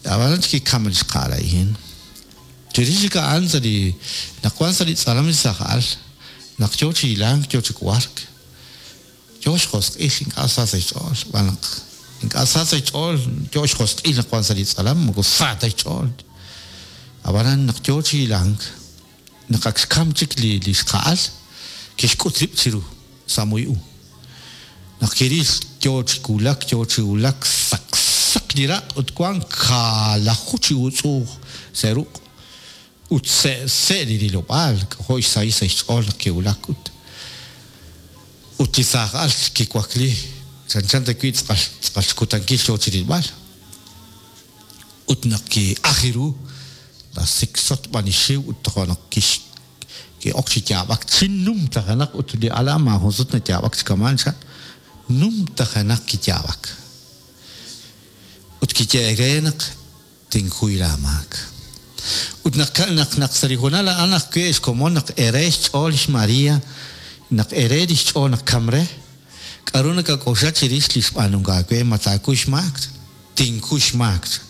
Ab'anan kikam li xqa'al a'in. Chirix chik a'an sa' li naq wank sa' li tz'alam li saaj al, naq yo chi hilank, yo chi wark, yo xjosq'il, ink'a' sa sa' xch'ool, xb'aan naq ink'a' sa sa' xch'ool, yo xjosq'il naq wank sa' li tz'alam, moko sa ta xch'ool. Ab'anan naq yo chi hilank, Naq ak xkamk chik li xqa'al, kixk'ut rib' chiru sa' moy u. Naq kiril yo chi wulak, yo chi wulak, saqsaq li raq' ut wank kaalaju chi utz'u'uj sa' ruq' ut se'se' li rilob'aal, k'ajo' xsahil sa' xch'ool naq kiwulak ut ut li saaj al kiwakli chanchan ta wi' tz'aqal tz'aqal xkutankil yo chi rilb'al. Ut naq ki'aj ru, nasiksot b'an li xiw ut toja' naq ki'ok chi yaab'ak chi numtajenaq ut li al a'an maajun sut nayaab'ak chi kama'an chan, numtajenaq kiyaab'ak. Ut kiyehe'k re naq tinkuy laamaak. Ut naq naq naq sa' li hoonal a'an ajwi' xkomon naq ere xch'ool lix María, naq ere li xch'ool naq kam re, K'aru nakak'oxla chirix li xb'aanunk aawe? Ma taakuy xmaak? Tinkuy xmaak, chan.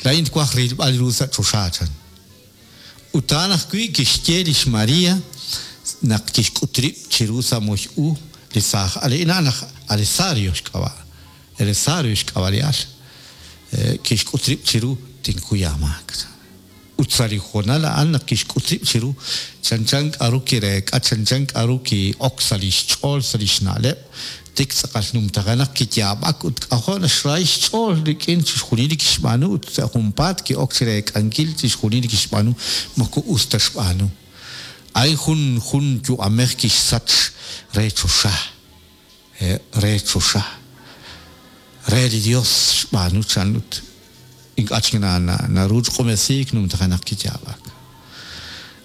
Laa'in twaj rilb'al ru sa' choxa, chan. Ut a'an ajwi' kixye li xMaria naq kixk'ut rib' chiru sa' moy u li saaj al a'in, a'an laj Alesario xk'ab'a', Elesario xk'ab'a' li al. Kixk'ut rib' chiru, Tinkuy aamaak, chan. Ut sa' li hoonal a'an naq kixk'ut rib' chiru, chanchan k'a'ru kireek'a, chanchan k'a'ru ki'ok sa' lix ch'ool, sa' lix na'leb', tik tz'aqal numtajenaq kiyaab'ak ut k'ajo' naxrahi xch'ool rik'in chixjunil li kixb'aanu ut sa' junpaat ki'ok chireek'ankil chixjunil li kixb'aanu moko us ta xb'aanu. A'in jun jun yu'amej kixsach re choxa, re choxa, re li Dios xb'aanu chan ut ink'a' chik naru chi q'umesiik numtajenaq kiyaab'ak.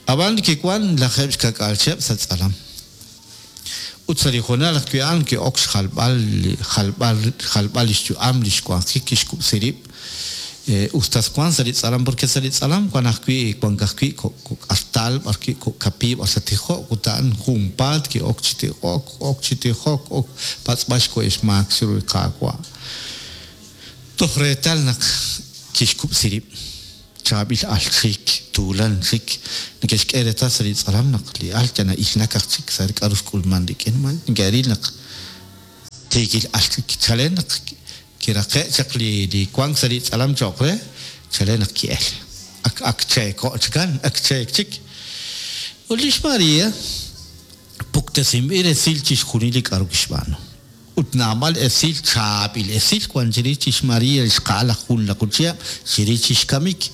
Ab'an kiwank 70 chihab' sa' tz'alam. Ut sa' li hoonal ajwi' a'an ki'ok xjalb'al jalb'al jalb'al li xyu'am, li xwanjik, kixkub'si rib' usta wank sa' li tz'alam porque sa' li tz'alam wank ajwi' wank ajwi' kok' artal b'arwi' kok' kapiiy b'ar sa' tijok ut a'an junpaat ki'ok chi tijok, ok chi tijok, ok patz'b'al xkuy xmaak chiru li Qaawa'. Toj reetal naq kixkub'si rib'. Chaab'il al chik, tuulan chik. Neke'xk'e reetal sa' li tz'alam naq li al yal na'ilnak aj chik sa' li k'a'ru xk'ulman rik'in. Ma neke'ril naq tiikil al chik. Chalen naq kiraqe' chaq li wank sa' li tz'alam cho'q re, chalen naq ki'el. Ak ak cheeko' chikan, ak cheek chik. Ut li xMaria puktesinb'il resil chixjunil li k'a'ru kixb'aanu. Ut naab'al esil chaab'il esil wan chirix chi xMaria li xqa'al aj junlaju chihab' chirix chi xkamik.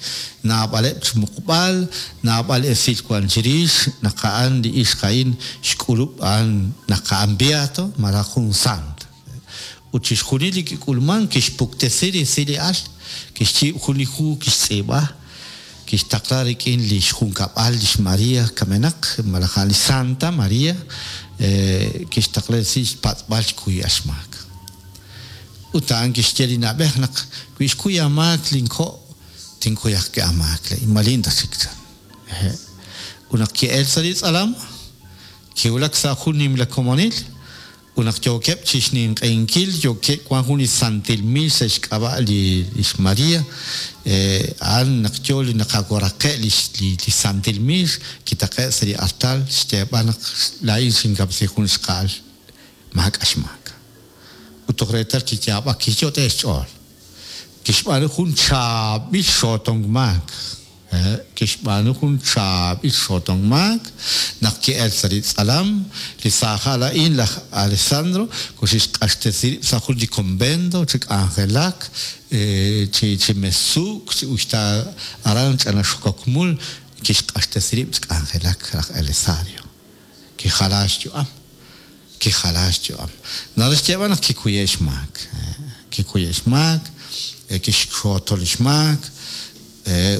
Naab'aleb' xmuqb'al, naab'al esil wan chirix naq a'an li ixq a'in xk'ulub' a'an naq a'an beato malaj jun sant. Ut chixjunil li kik'ulman kixpuktesi resil li al, kixyiib' jun li hu kixtz'iib'a, kixtaqla rik'in li xjunkab'al li xMaria kamenaq malaj a'an li Santa Maria. Kixtaqla resil xpatz'b'al xkuyb'al xmaak. Ut a'an kixye li na'b'ej naq wi xkuy aamaak linko' tinkuy ajwi' aamaak laa'in malin ta chik chan. Ut naq ki'el sa' li tz'alam, kiwulak sa' jun nimla komonil, ut naq yookeb' chi xninq'ehinkil yookeb' wan jun li santil miix sa' xk'ab'a' li xMaria, a'an naq yo li naqawaraqe' li li santil miix kitaqe' sa' li artal xyeeb'al naq laa'in xinkamsi jun xqa'al maak'a' xmaak. Ut toj reetal kiyaab'ak kiyot'e xch'ool. Kixb'aanu jun chaab'il xootonk maak. Kixb'aanu jun chaab'il xootonk maak naq ki'el sa' li tz'alam li saajal a'in laj Alessandro koxixq'axtesi rib' sa' jun li convento chi k'anjelak chi chi mesuk chi uxta aran ch'ana xokok mul kixq'axtesi rib' chi k'anjelak laj Elisario. Kijala xyu'am. Kijala xyu'am. Naraj xyeeb'al naq kikuye' xmaak. Kikuye' xmaak, kixxooto li xmaak,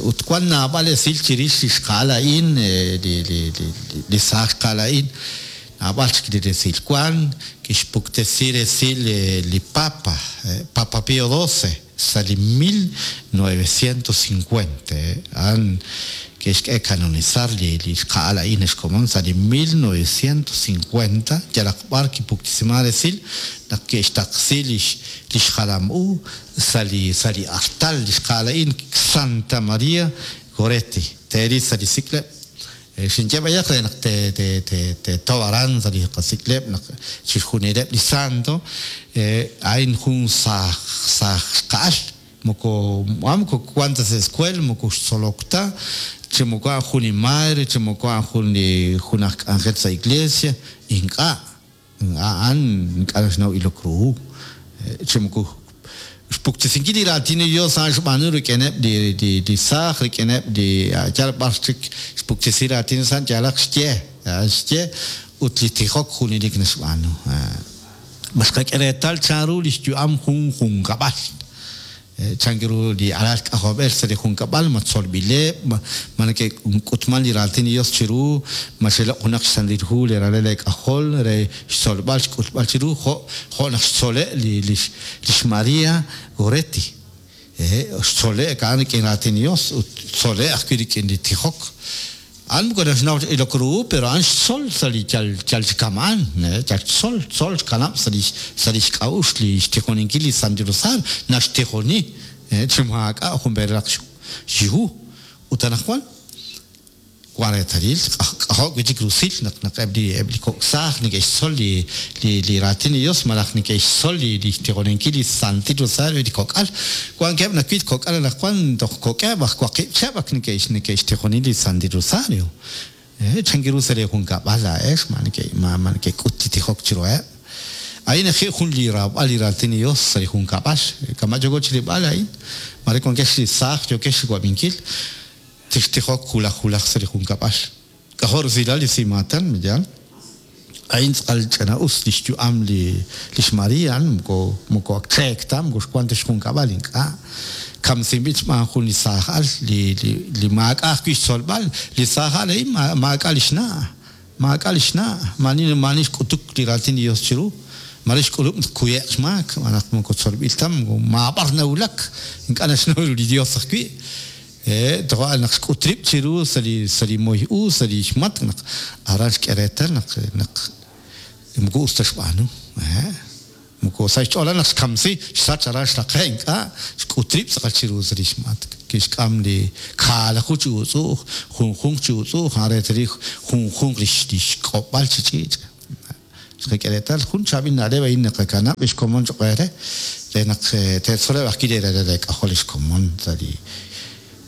ut wan naab'al esil chirix li xqa'al a'in, li li li li saaj xqa'al a'in, naab'al chik li resil wan, kixpuktesi resil li Papa, Papa Pío XII, sa' li 1950, a'an ke'xk'e canonizar li li xqa'al a'in ex komon sa' li 1950, yalaq b'ar kipuktesiman resil naq ke'xtaqsi lix lix jalam u sa' li sa' li artal li xqa'al a'in Santa Maria Goretti, teeril sa' li sik'leb'. Xinye b'ayaq re naq te te te teetaw aran sa' li qasik'leb' naq chixjunileb' li santo, a'in jun saaj saaj xqa'al, moko a'an moko wan ta sa' escuela, moko xtzolok ta, chi moko a'an jun li madre, chi moko a'an jun li jun aj k'anjel sa' iglesia, ink'a'. A'an ink'a' naxnaw ilok ru hu, chi moko xpuktesinkil li raatin li Dios a'an xb'aanu rik'ineb' li li li saaj, rik'ineb' li yal b'ar chik xpuktesi raatin Dios a'an yalaq xye, a'an xye ut li tijok junelik naxb'aanu. Ma xqak'e reetal chanru lix yu'am jun junkab'al? Chan ru li alal k'ajolb'ej sa' li junkab'al, ma tzolb'ileb', ma neke'k'utman li raatin li Dios chiru, ma xeloq' junaq xsantil hu li ralal eek'ajol re xtzolb'al xk'utb'al chiru, jo' jo' naq xtzole' li li xMaria Goretti. Xtzole'k a'an rik'in raatin li Dios ut xtzole' ajwi' rik'in li tijok. A'an moko naxnaw ta ilok ru hu, pero a'an xtzol sa' li yal yal chi kama'an, yal xtzol, tzol xkanab' sa' lix sa' lix k'a'uxl li xtijoninkil li Santil Rosario, naxtijoni chi maak'a' jun perelaq xi hu. Ut anaqwan wan reetalil, k'ajo' wi' chik rusil naq naq eb' li eb' li kok' saaj neke'xtzol li li li raatin li Dios malaj neke'xtzol li li xtijoninkil li Santil Rosario li kok'al. Wankeb' nawil kok'al anaqwan toj kok'eb' aj waqib' chihab' ak neke'x neke'xtijoni li Santil Rosario. Chan ru sa' lee junkab'al laa'ex ma neke ma ma nekek'ut li tijok chiruheb'? A'in ajwi' jun li raab'al li raatin li Dios sa' li junkab'al. Kama' yooko chirilb'al a'in, maare wankex li saaj yookex chiwab'inkil, tixtijok wulaj wulaj sa' li junkab'al. K'ajo' rusilal li simaatan, ma yaal? A'in tz'aqal ch'ina'us li xyu'am li xMaria, a'an moko moko ak cheek ta, moko xwank ta xjunkab'al, ink'a'. Kamsinb'il xb'aan jun li saaj al li li li maak'a' ajwi' xtzolb'al. Li saaj al a'in maak'a' li xna', maak'a' li xna', maa'ani maa'ani xk'utuk li raatin li Dios chiru. Maare xk'ulub' naq tkuye'q xmaak, xb'aan naq moko tzolb'il ta, moko maab'ar nawulak, ink'a' naxnaw ru li Dios ajwi'. Toja' naq xk'ut rib' chiru sa' li sa' li moy u, sa' li xmatk' naq aran xk'e reetal naq naq moko us ta xb'aanu. Moko sa' xch'ool naq xkamsi, xsach aran xraqe' ink'a', xk'ut rib' tz'aqal chiru sa' li xmatk'. Kixk'am li kaalaju chi utz'u'uj, junjunq chi utz'u'uj, a'an reetalil junjunq li xk'ob'al chi ch'iich'. Xqak'e reetal jun chaab'il na'leb' a'in naqakanab' lix komon choq' eere, re naq teetzoleb' ajwi' lee ralal eek'ajol lix komon sa' li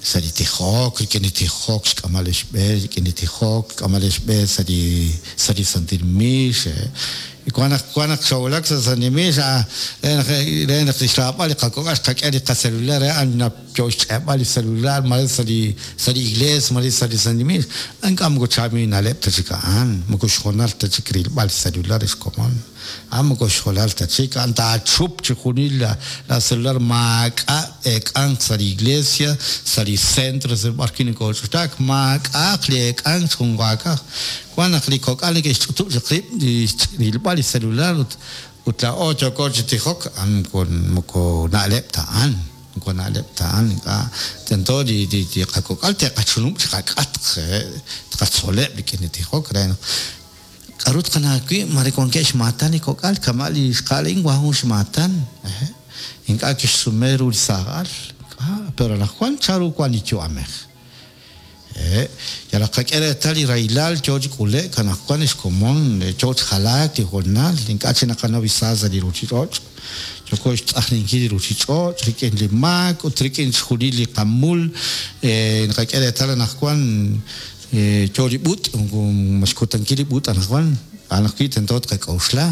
sa' li tijok, rik'in li tijok xk'amb'al lix b'e, rik'in li tijok xk'amb'al lix b'e sa' li sa' li santil miix. Wan naq wan naq xoowulak sa' santil miix, re naq re naq lix raab'al li qakok'al xqak'e li qacelular re a'an Yoo xch'e'b'al li celular mare sa' li sa' li iglees mare sa' li santil miix, ink'a' moko chaab'il na'leb' ta chik a'an, moko xhoonal ta chik rilb'al li celular ex komon. A'an moko xhoonal ta chik, a'an taachup chixjunil la celular maak'a' eek'anq sa' li iglesia, sa' li centro sa' b'ar wi' nokooch'utlaak, maak'a'aq li eek'ank chi junwaakaj. Wan naq li kok'al neke'xch'utub' chaq rib' rilb'al li celular ut ut laa'o yooko chi tijok, a'an moko moko na'leb' ta a'an, moko na'leb' ta a'an, ink'a' tento li li li qakok'al te'qachunub' chiqak'atq, tqatzoleb' rik'in li tijok re naq k'a'ru tqanaw wi' mare wankeb' xmaatan li kok'al kama' li xqa'al a'in wan jun xmaatan, ink'a' kixsume ru li saaj al, ink'a', pero anaqwan chanru wan li yu'amej. Hehe', yalaq qak'e reetal li rahilal yoo chi k'ule'k anaqwan ex komon, yoo chi jalaak li hoonal, ink'a' chik naqanaw li sa sa' li ruchich'och'. Yooko xtz'ajninkil li ruchich'och' rik'in li maak ut rik'in chixjunil li qamul. Naqak'e reetal anaqwan yoo li b'ut', moko ma xkutankil li b'ut' anaqwan, a'an ajwi' tento tqak'oxla.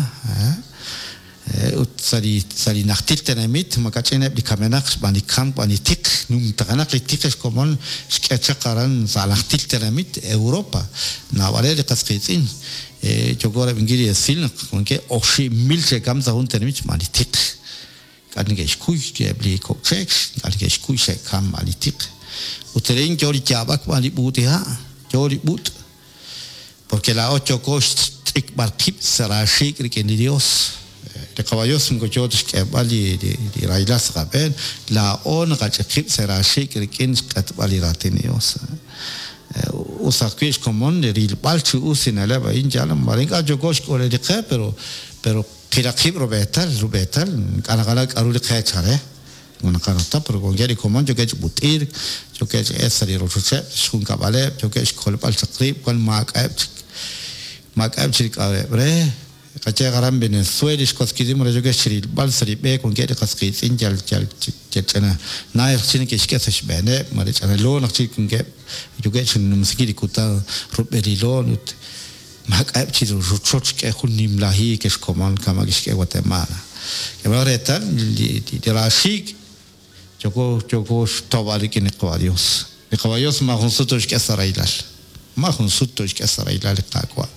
Ut sa' li sa' li najtil tenamit makach'in eb' li kamenaq xb'aan li kamk xb'aan li tiq, numtajenaq li tiq ex komon xk'e chaq aran sa' najtil tenamit Europa, naab'aleb' li qas qiitz'in yooko rab'inkil li esil naq wankeb' 5,000 xe'kamk sa' jun tenamit xb'aan li tiq. Ink'a' neke'xkuy eb' li kok' cheek, ink'a' neke'xkuy xe'kamk xb'aan li tiq. Ut arin yo li yaab'ak xb'aan li b'uut'iha', yo li b'ut'. Porque laa'o yooko xch'ikb'al qib' sa' raaxiik' rik'in li Dios. Li Qawa' Dios moko yoo ta xk'eeb'al li rahilal sa' qab'een, laa'o naqach'ik qib' sa' raaxiik' rik'in xq'etb'al li raatin li Dios. Us ajwi' xkomon li rilb'al chi us li na'leb' a'in, yaal, maare ink'a' yooko xk'ulel li qe, pero pero qilaq qib' rub'eetal, rub'eetal, ink'a' naqanaw k'a'ru li qe chalel. Moko naqanaw ta, pero wankeb' li komon yookeb' chi b'ut'irk, yookeb' chi elk sa' li rochocheb', xjunkab'aleb', yookeb' xkolb'al chaq rib', wan maak'a'eb' chik, maak'a'eb' chik li k'a'ruheb' re. Qayehaq aran Venezuela, li xwatz kiitz'in mare yookeb' chirilb'al sa' li b'e wankeb' li qas qiitz'in yal yal yal ch'ina naay raj chik neke'xk'e sa' xb'eeneb', mare ch'ina loon aj chik wankeb' yookeb' chi numsinkil li kutan rub'el li loon ut Maak'a'eb' chi rochoch xk'e jun nimla hiik ex komon kama' kixk'e Guatemala. K'ehomaq reetal li raaxiik' yooko yooko xtawb'al rik'in li Qawa' Dios. Li Qawa' Dios maajun sut tooxk'e sa' rahilal. Maajun sut tooxk'e sa' rahilal li Qaawa'.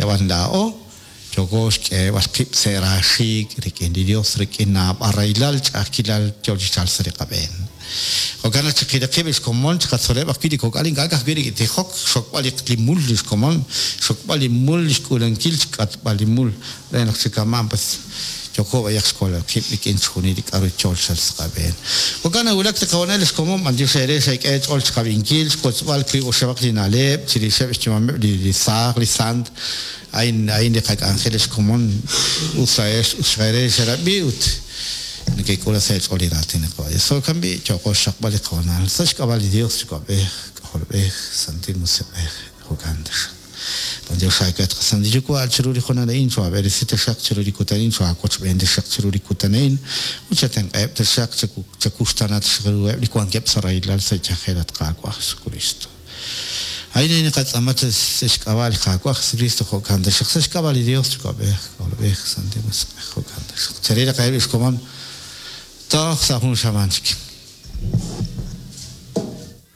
Yab'an laa'o yooko xk'eeb'al qib' sa' raaxiik' rik'in li Dios rik'in naab'al rahilal ch'a'ajkilal yoo chi chalk sa' li qab'een. Jo'kan naq chiqil qib' ex komon, chiqatzoleb' ajwi' li kok'al ink'a' ka'ajwi' rik'in tijok, xxokb'al li mul li xkomon, xxokb'al li mul, xk'uulankil, xk'atb'al li mul, re naq chi kama'an pues yooko b'ayaq xkolb'al qib' rik'in chixjunil li k'a'ru yool chalk sa' qab'een. Jo'kan nawulak li qahoonal ex komon, b'antiox eere xeek'e eech'ool chiqab'inkil, xwotzb'al wiib' oxib'aq li na'leb' chirixeb' xyu'ameb' li saaj, li sant, a'in a'in li qak'anjel ex komon, us laa'ex us eere xerab'i ut Nekek'ul sa' eech'ool li raatin li Qaawa' Dios. Jo'kan b'i', yooqo xxaqb'al li qahoonal sa' xk'ab'a' li Dios Yuwa'b'ej, K'ajolb'ej, Santil Musiq'ej. Jo'kan taxaq. B'antiox aawe, at qaSantil Yuwa', chiru li hoonal a'in, choohaab'eresi taxaq chiru li kutan a'in, choohaawochb'een taxaq chiru li kutan a'in, ut chatenq'aheb' taxaq, chawuxtaana taxaq ruheb' li wankeb' sa' rahilal sa' yajel, at Qaawa' Jesukristo. A'in a'in naqatz'aama sa' xk'ab'a' li Qaawa' Jesukristo, jo'kan taxaq. Sa' xk'ab'a' li Dios Yuwa'b'ej, K'ajolb'ej, Santil Musiq'ej, jo'kan taxaq. Cheril qaheb' lix komon toj sa' jun xamaan chik.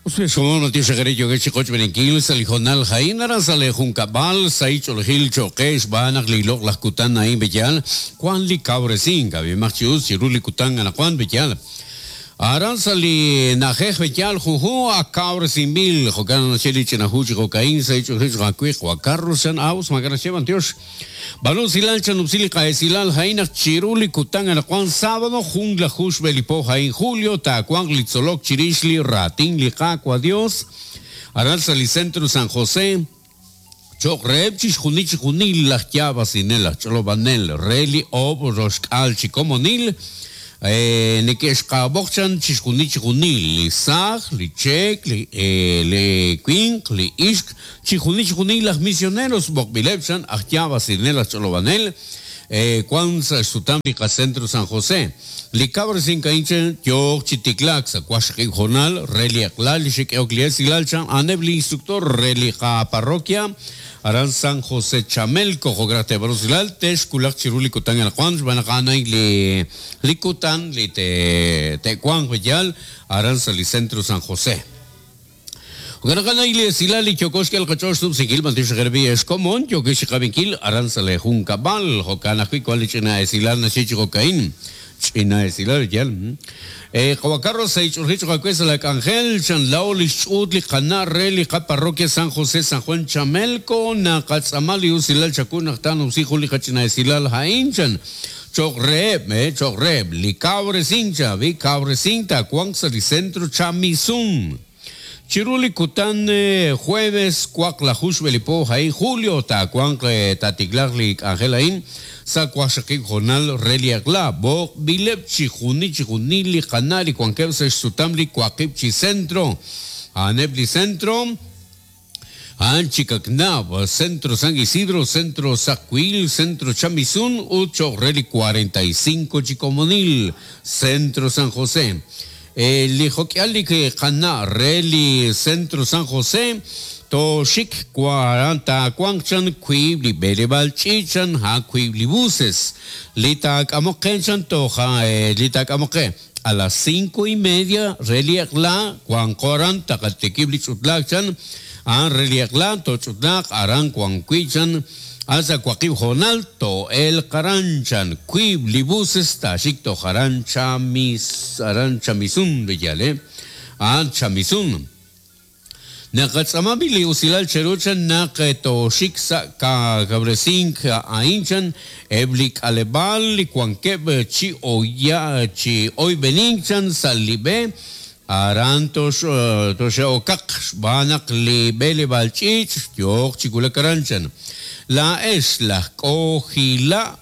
Us lix komon matiox eere yookex chi qochb'eeninkil sa' li hoonal a'in aran sa' lee junkab'al, sahil ch'oolejil cho'q qe xb'aan naq li loq'laj kutan a'in b'eyal wan li kawresink, ab'imaq chi us chiru li kutan anaqwan b'eyal. Aran sa' li na'ajej B'eyal junjun ak kawresinb'il, jo'kan naq naxye li ch'ina hu chi jo'ka'in sa' li ch'och'il xqawiq wa Carlos chan Aus maak'a' naxye b'antiox. B'aanu usilal chanub'si li qa'esilal a'in naq chiru li kutan anaqwan sábado junlaju xb'e li po a'in julio taawanq li tzolok chirix li raatin li Qaawa' Dios aran sa' li Centro San José cho'q reheb' chixjunil chixjunil laj yaab'asinel, aj ch'olob'anel re li oob' roxk'aal chi komonil, neke'xqaab'oq chan chixjunil chixjunil, li saaj, li cheek, li winq, li ixq, chixjunil chixjunil laj misioneros b'oqb'ileb' chan aj yaab'asinel, aj ch'olob'anel, wan sa' xsutam li qaCentro San José. Li kawresink a'in chan yooq chi tiklaak sa' waqxaqib' hoonal re li eq'la li xe'k'ehok li esilal chan a'aneb' li instructor re li qaparroquia aran San José Chamelco. Jo'kan naq teeb'aanu usilal texwulaq chiru li kutan anaqwan xb'aan naq a'an a'in li li kutan li te'wanq yaal aran sa' li Centro San José. Jo'kan naq a'an li esilal li yooko xk'el qach'ool xnumsinkil b'antiox xeqerab'i ex komon yookex chi qab'inkil aran sa' lee junkab'al. Jo'kan ajwi' wan li ch'ina esilal naxye chi jo'ka'in. Ch'ina esilal yal. Qawa' Carlos sa' ich'olji choq' aawe sa' laa k'anjel, chan laa'o li xch'uut li qana' re li qaparroquia San José San Juan Chamelco, naqatz'aama li usilal chawu naq taanumsi jun li qach'ina esilal a'in, chan, choq' reheb', choq' reheb' li kawresink, chan, ab'i, kawresink taawanq sa' li Centro Chamisun. Chiru li kutan jueves waqlaju xb'e li po a'in julio taawanq taatiklaaq li k'anjel a'in sa' waqxaqib' hoonal re li eq'la. B'oqb'ileb' chijunil chijunil li qana' li wankeb' sa' xsutam li waqib' chi centro. A'aneb' li centro a'an Chicacnab, Centro San Isidro, Centro Sacuil, Centro Chamisun ut cho'q re li 45 chi komonil, Centro San José. Li jok'ihal li qana' re li Centro San José tooxik aran taawanq chan wiib' li b'eleb'aal ch'iich' chan ha wiib' li buses li taak'amoq qe chan toja li taak'amoq qe a las cinco y media re li eq'la wanqo aran taqatikib' li ch'utlaak chan a'an re li eq'la tooch'utlaaq aran wan wi' chan A sa' waqib' hoonal too'elq aran chan wiib' li buses taaxik toj aran Chamis aran Chamisun b'eyal eh a'an Chamisun. Naqatz'aama b'i' li usilal cheru chan naq tooxik sa' kawresink a'in chan eb' li k'aleb'aal li wankeb' chi oya chi oyb'enink chan sa' li b'e Aran toxe'okaq xb'aan naq li b'eleb'aal ch'iich' yooq chi wulak aran, chan. Laa'ex laj K'ojila',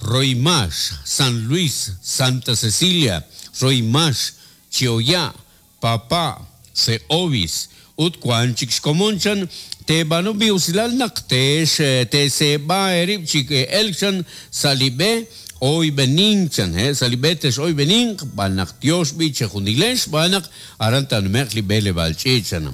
Roymax, San Luis, Santa Cecilia, Roymax, Chioya', Papa', Se'ovis, ut wank chik xkomon, chan, teeb'aanu b'i' usilal naq teeseeb'a eerib' chi elk, chan, sa' li b'e oyb'enink, chan, he, sa' li b'e tex'oyb'eninq, b'an naq tyox b'i' chejunilex, xb'aan naq aran taanume'q li b'eleb'aal ch'iich', chan.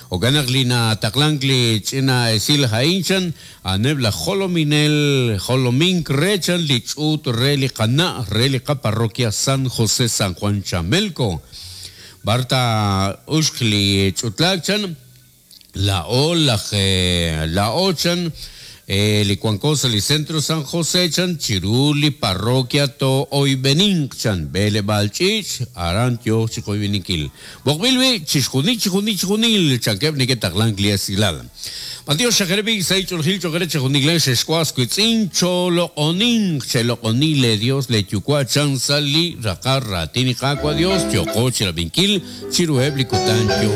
Jo'kan naq li nataqlank li ch'ina esil a'in, chan, a'aneb' laj jolominel jolomink re, chan, li ch'uut re li qana' re li qaparroquia San José San Juan Chamelco. B'ar taa'uxq li ch'utlaak, chan, Laa'o laj laa'o chan li wanko sa' li Centro San José chan chiru li parroquia too'oyb'eninq chan b'eleb'aal ch'iich' aran yooq chi qoyb'eninkil. B'oqb'il b'i' chixjunil chijunil chijunil chankeb' neke'taqlank li esilal. B'antiox xajereb' sahil ch'oolejil cho'q eere chejunilex ex was wiitz'in chooloq'oninq cheloq'oni lee Dios lee Yuwa' chan sa' li raqal raatin li Qaawa' Dios yooqo chirab'inkil chiruheb' li kutan yoo.